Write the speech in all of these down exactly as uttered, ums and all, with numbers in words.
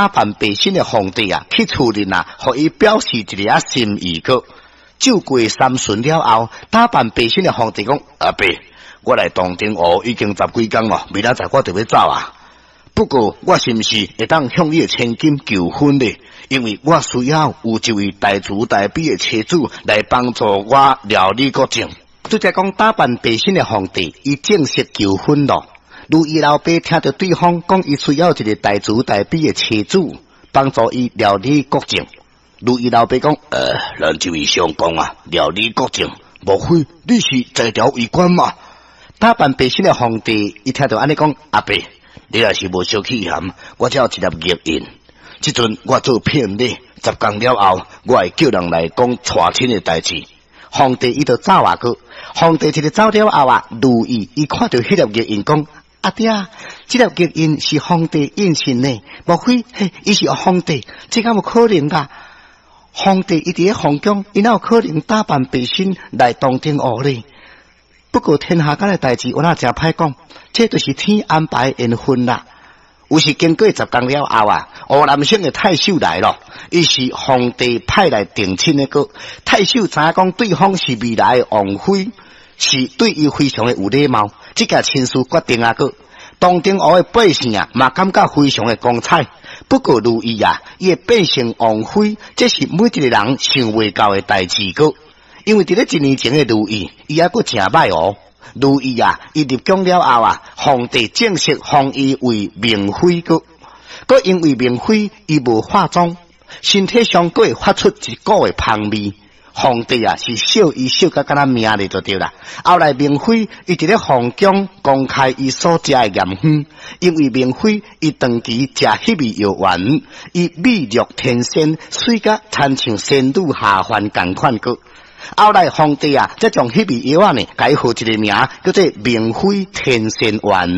扮白身的皇帝啊，去厝裡啊，予伊表示一下心意閣。酒過三巡了後，打扮白身的皇帝講：阿伯，我來洞庭湖已經十幾工咯，明仔載我就欲走啊。不過我是毋是會當向你的千金求婚呢？因為我需要有一位大慈大悲的妻子來幫助我料理國政。拄才講打扮白身的皇帝，伊正式求婚咯。如伊老爸聽著對方講，伊需要一个大慈大悲的妻子幫助伊料理國政。如伊老爸講：呃，咱這位相公啊，料理國政，莫非你是在朝為官嗎？打扮白身的皇帝，伊聽著按呢講，阿伯，你若是無小氣嫌，我這有一粒玉印。這陣我做聘禮，十工了後，我會叫人來講娶親的代誌。皇帝伊就走啊閣，皇帝一个走了後啊，如意伊看著彼粒玉印講：阿爹，這粒玉印是皇帝印信呢？莫非嘿，伊是皇帝？這敢有可能㗎？皇帝伊佇咧皇宮，伊哪有可能打扮白身來洞庭湖呢？不過天下間的代誌，我若誠歹講，這就是天安排緣分啦。有時經過十工了後啊，湖南省的太守來咯，伊是皇帝派來定親的閣。太守知影講對方是未來的王妃，是對伊非常的有禮貌，這件親事決定啊閣。洞庭湖的百姓啊，嘛感覺非常的光彩。不過如意啊，伊會變成王妃，這是每一個人想袂到的代誌閣。因為佇咧一年前的如意，伊猶閣誠歹哦。如意啊，伊入宮了後啊，皇帝正式封伊為明妃閣。閣因為明妃伊無化妝，身體上閣會發出一股的芳味。皇帝啊，是惜伊惜甲敢若命咧就對啦。後來明妃伊佇咧皇宮公開伊所食的鹽魚，因為明妃伊長期食彼味藥丸，伊美若天仙，媠甲親像仙女下凡仝款閣。後來皇帝啊，才將彼味藥仔呢，共伊號一个名，叫做明妃天仙丸。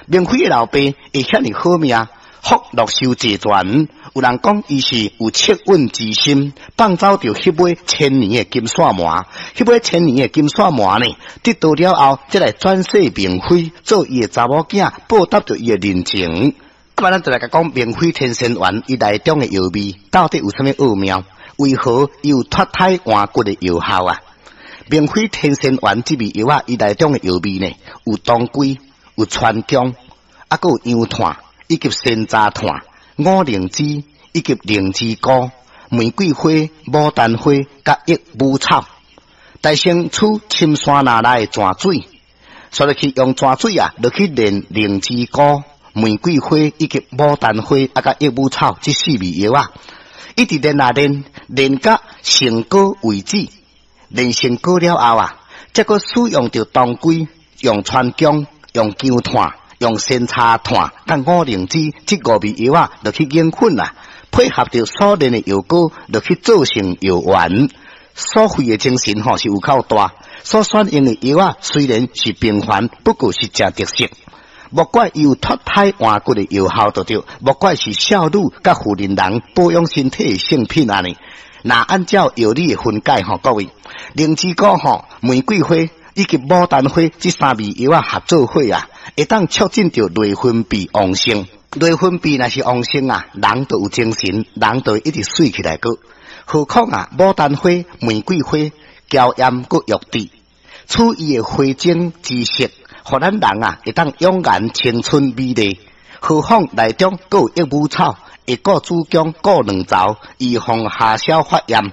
明妃的老爸會遐爾好命，福祿壽齊全。有人講伊是有惻隱之心，放走著彼尾千年的金線鰻。彼尾千年的金線鰻呢，得道了後，才來轉世明妃，做伊的查某囝，報答著伊的人情。啊，咱就來共講明妃天仙丸伊內中的藥味到底有啥物奧妙？為何伊有脫胎換骨的藥效啊？明妃天仙丸這味藥仔，伊內中的藥味呢，有當歸、有川薑，啊，閣有洋炭，以及山楂炭、五靈脂以及靈芝菇、玫瑰花、牡丹花、佮益母草。大先取深山若來的泉水，煞落去用泉水啊，落去煉靈芝菇、玫瑰花以及牡丹花，啊，佮益母草這四味藥仔。一直煉啊煉，煉甲成膏為止。煉成膏了後啊，才閣使用著當歸、用川薑、用薑炭、用山楂炭、佮五靈脂這五味藥仔，落去研粉啊，配合著所煉的藥膏，落去做成藥丸。所費的精神吼是有夠大，所選用的藥仔雖然是平凡，不過是誠特色。莫怪伊有脫胎換骨的藥效，就對；莫怪是少女佮婦人人保養身體的聖品按呢。若按照藥理的分解吼，各位，靈芝菇吼、玫瑰花以及牡丹花這三味藥仔合做伙啊，會當促進著內分泌旺盛。內分泌若是旺盛啊，人就有精神，人就會一直媠起來閣。何況啊，牡丹花、玫瑰花嬌艷閣玉緻，取伊的花精之色，予咱人啊會當永顏青春美麗。何況內中閣有益母草，會顧子宮、顧卵巢，預防下消發炎。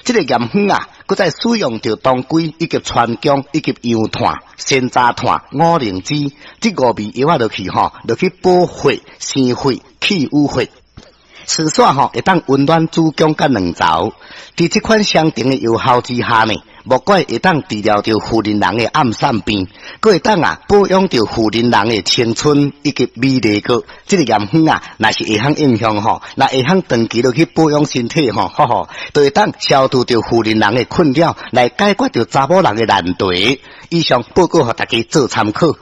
這个鹽魚啊，閣再使用著當歸以及川薑以及洋炭、山楂炭、五靈脂這五味藥仔落去吼，落去補血、生血、去瘀血。事煞吼會當溫暖子宮佮卵巢。佇這款相同的藥效之下呢，莫怪會當治療著婦人人的暗散病，閣會當啊保養著婦人人的青春以及美麗閣。這个鹽魚啊，若是會曉應用吼，若會曉長期落去保養身體吼，吼吼，就會當消除著婦人人的困擾，來解決著查某人的難題。以上報告予大家做參考。